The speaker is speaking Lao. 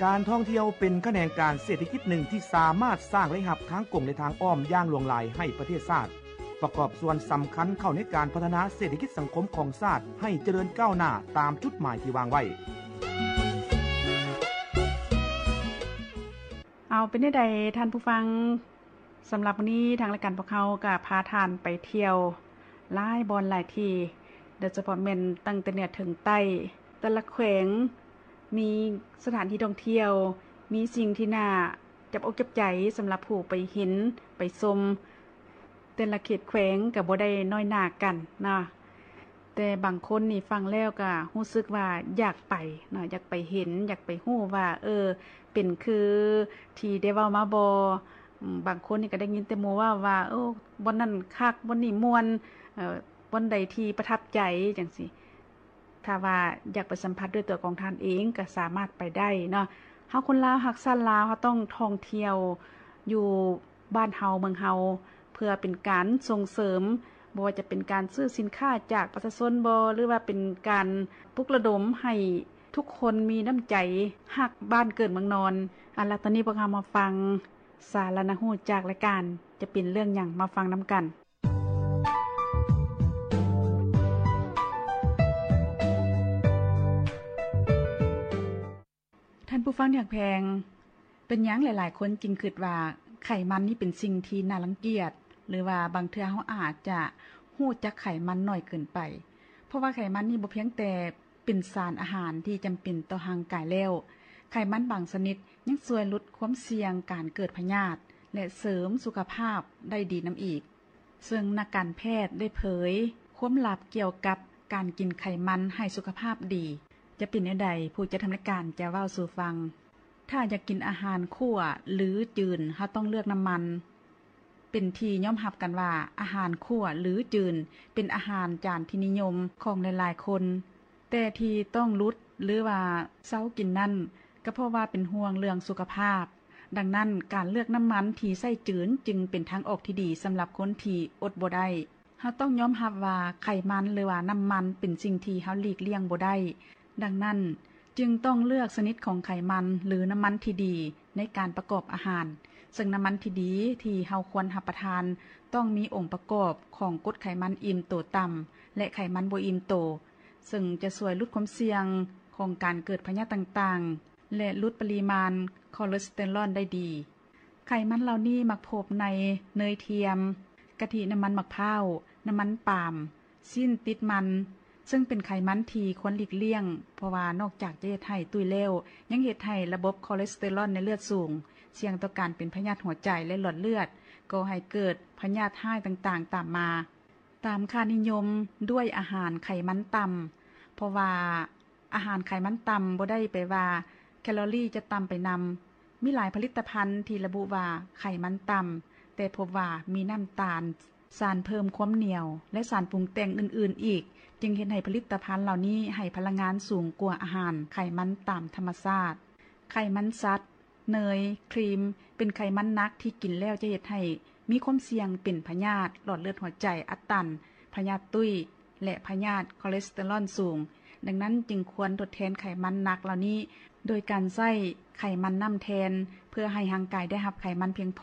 ການທ່ອງທ່ຽວເປັນຂະແໜງການເສດຖະກິດໜຶ່ງທີ່ສາມາດສ້າງລາຍຮັບທາງກົງ ແລະ ທາງອ້ອມຢ່າງຫຼວງຫຼາຍໃຫ້ປະເທດຊາດ, ປະກອບສ່ວນສຳຄັນເຂົ້າໃນການພັດທະນາເສດຖະກິດສັງຄົມຂອງຊາດໃຫ້ຈະເລີນກ້າວໜ້າຕາມຈຸດໝາຍທີ່ວາງໄວ້. ເອົາ ເປັນແນວໃດທ່ານຜູ້ຟັງ? ສຳລັບມື້ນີ້ທາງລາຍການພວກເຮົາກໍພາທ່ານໄປທ່ຽວຫຼາຍບ່ອນຫຼາຍທີ່, ໂດຍສະເພາະແມ່ນຕັ້ງແຕ່ເໜືອເຖິງໃຕ້. ແຕ່ລະແຂວງມີສະຖານທີ່ທ່ອງທ່ຽວ, ມີສິ່ງທີ່ໜ້າຈັບອົກຈັບໃຈສຳລັບຜູ້ໄປເຫັນໄປຊົມ. ແຕ່ລະເຂດແຂວງກໍບໍ່ໄດ້ນ້ອຍໜ້າກັນເນາະ. ແຕ່ບາງຄົນນີ້ຟັງແລ້ວກໍຮູ້ສຶກວ່າຢາກໄປເນາະ, ຢາກໄປເຫັນ, ຢາກໄປຮູ້ວ່າ ເອີ ເປັນຄືທີ່ໄດ້ເວົ້າມາບໍ່? ອາ ບາງຄົນນີ້ກໍໄດ້ຍິນແຕ່ໝູ່ເວົ້າວ່າ ໂອ້ ບ່ອນນັ້ນຄັກ, ບ່ອນນີ້ມ່ວນ, ເອີ ບ່ອນໃດທີ່ປະທັບໃຈ ຈັ່ງຊີ້. ຖ້າວ່າຢາກໄປສຳຜັດດ້ວຍຕົວຂອງທ່ານເອງກໍສາມາດໄປໄດ້ເນາະ. ເຮົາຄົນລາວຮັກຊາດລາວ, ເຮົາຕ້ອງທ່ອງທ່ຽວຢູ່ ບ້ານເຮົາເມືອງເຮົາ ເພື່ອເປັນການສົ່ງເສີມ, ບໍ່ວ່າຈະເປັນການຊື້ສິນຄ້າຈາກປະຊາຊົນບໍ ຫຼືວ່າເປັນການປຸກລະດົມໃຫ້ທຸກຄົນມີນ້ຳໃຈຮັກບ້ານເກີດເມືອງນອນ. ເອົາລະ ຕອນນີ້ພວກເຮົາມາຟັງສາລະໜ້າຮູ້ຈາກລາຍການ ຈະເປັນເລື່ອງຫຍັງ ມາຟັງນຳກັນ. ທ່ານຜູ້ຟັງທີ່ຮັກແພງ, ເປັນຫຍັງຫຼາຍໆຄົນຈຶ່ງຄິດວ່າໄຂມັນນີ້ເປັນສິ່ງທີ່ໜ້າລັງກຽດ ຫຼືວ່າບາງເທື່ອເຮົາອາດຈະຮູ້ຈັກໄຂມັນໜ້ອຍເກີນໄປ? ເພາະວ່າໄຂມັນນີ້ບໍ່ພຽງແຕ່ເປັນສານອາຫານທີ່ຈຳເປັນຕໍ່ຮ່າງກາຍແລ້ວ, ໄຂມັນບາງຊະນິດຍັງຊ່ວຍຫຼຸດຄວາມສ່ຽງການເກີດພະຍາດ ແລະ ເສີມສຸຂະພາບໄດ້ດີນຳອີກ. ເຊິ່ງນັກການແພດໄດ້ເຜີຍຄວາມລັບກ່ຽວກັບການກິນໄຂມັນໃຫ້ສຸຂະພາບດີ. ຈະເປັນແນວໃດ ຜູ້ຈັດທຳລາຍການຈະເວົ້າສູ່ຟັງ. ຖ້າຢາກກິນອາຫານຂົ້ວ ຫຼື ຈືນ, ເຮົາຕ້ອງເລືອກນ້ຳມັນ. ເປັນທີ່ຍອມຮັບກັນວ່າ ອາຫານຂົ້ວ ຫຼື ຈືນ ເປັນອາຫານຈານທີ່ນິຍົມຂອງຫຼາຍໆຄົນ. ແຕ່ທີ່ຕ້ອງຫຼຸດ ຫຼືວ່າເຊົາກິນນັ້ນ ກໍເພາະວ່າເປັນຫ່ວງເລື່ອງສຸຂະພາບ. ດັ່ງນັ້ນ, ການເລືອກນ້ຳມັນທີ່ໃຊ້ຈືນຈຶ່ງເປັນທາງອອກທີ່ດີສຳລັບຄົນທີ່ອົດບໍ່ໄດ້. ເຮົາຕ້ອງຍອມຮັບວ່າໄຂມັນ ຫຼືວ່ານ້ຳມັນເປັນສິ່ງທີ່ເຮົາຫຼີກລ່ຽງບໍ່ໄດ້. ດັ່ງນັ້ນ, ຈຶ່ງຕ້ອງເລືອກຊະນິດຂອງໄຂມັນ ຫຼື ນ້ຳມັນທີ່ດີໃນການປະກອບອາຫານ. ເຊິ່ງນ້ຳມັນທີ່ດີທີ່ເຮົາຄວນຮັບປະທານ ຕ້ອງມີອົງປະກອບຂອງກົດໄຂມັນອີ່ມໂຕຕ່ຳ ແລະ ໄຂມັນບໍ່ອີ່ມໂຕ. ເຊິ່ງຈະຊ່ວຍຫຼຸດຄວາມສ່ຽງຂອງການເກີດພະຍາດຕ່າງໆ ແລະ ຫຼຸດປະລິມານຄໍເລສເຕີຣອນໄດ້ດີ. ໄຂມັນເຫຼົ່ານີ້ມັກພົບໃນເນີຍທຽມ, ກະທິ, ນ້ຳມັນໝາກພ້າວ, ນ້ຳມັນປາມ, ຊີ້ນຕິດມັນ, ເຊິ່ງເປັນໄຂມັນທີ່ຄວນຫຼີກລ່ຽງ, ເພາະວ່ານອກຈາກຈະເຮັດໃຫ້ຕຸ້ຍແລ້ວ, ຍັງເຮັດໃຫ້ລະບົບຄໍເລສເຕີຣອນໃນເລືອດສູງ, ສ່ຽງຕໍ່ການເປັນພະຍາດຫົວໃຈ ແລະ ຫຼອດເລືອດ, ກໍ່ໃຫ້ເກີດພະຍາດຮ້າຍຕ່າງໆຕາມມາ. ຕາມຄ່ານິຍົມດ້ວຍອາຫານໄຂມັນຕ່ຳ, ເພາະວ່າອາຫານໄຂມັນຕ່ຳບໍ່ໄດ້ແປວ່າແຄລໍຣີຈະຕ່ຳໄປນຳ. ມີຫຼາຍຜະລິດຕະພັນທີ່ລະບຸວ່າໄຂມັນຕ່ຳ, ແຕ່ພົບວ່າມີນ້ຳຕານ, ສານເພີ່ມຄວາມໜຽວ ແລະ ສານປຸງແຕ່ງອື່ນໆອີກ, ຈຶ່ງເຮັດໃຫ້ຜະລິດຕະພັນເຫຼົ່ານີ້ໃຫ້ພະລັງງານສູງກວ່າອາຫານໄຂມັນຕາມທຳມະຊາດ. ໄຂມັນສັດ, ເນີຍ, ຄຣີມ ເປັນໄຂມັນໜັກທີ່ກິນແລ້ວຈະເຮັດໃຫ້ມີຄວາມສ່ຽງເປັນພະຍາດຫຼອດເລືອດຫົວໃຈອັດຕັນ, ພະຍາດຕຸ້ຍ ແລະ ພະຍາດຄໍເລສເຕີຣອນສູງ. ດັ່ງນັ້ນຈຶ່ງຄວນທົດແທນໄຂມັນໜັກເຫຼົ່ານີ້ໂດຍການໃຊ້ໄຂມັນນ້ຳແທນ, ເພື່ອໃຫ້ຮ່າງກາຍໄດ້ຮັບໄຂມັນພຽງພໍ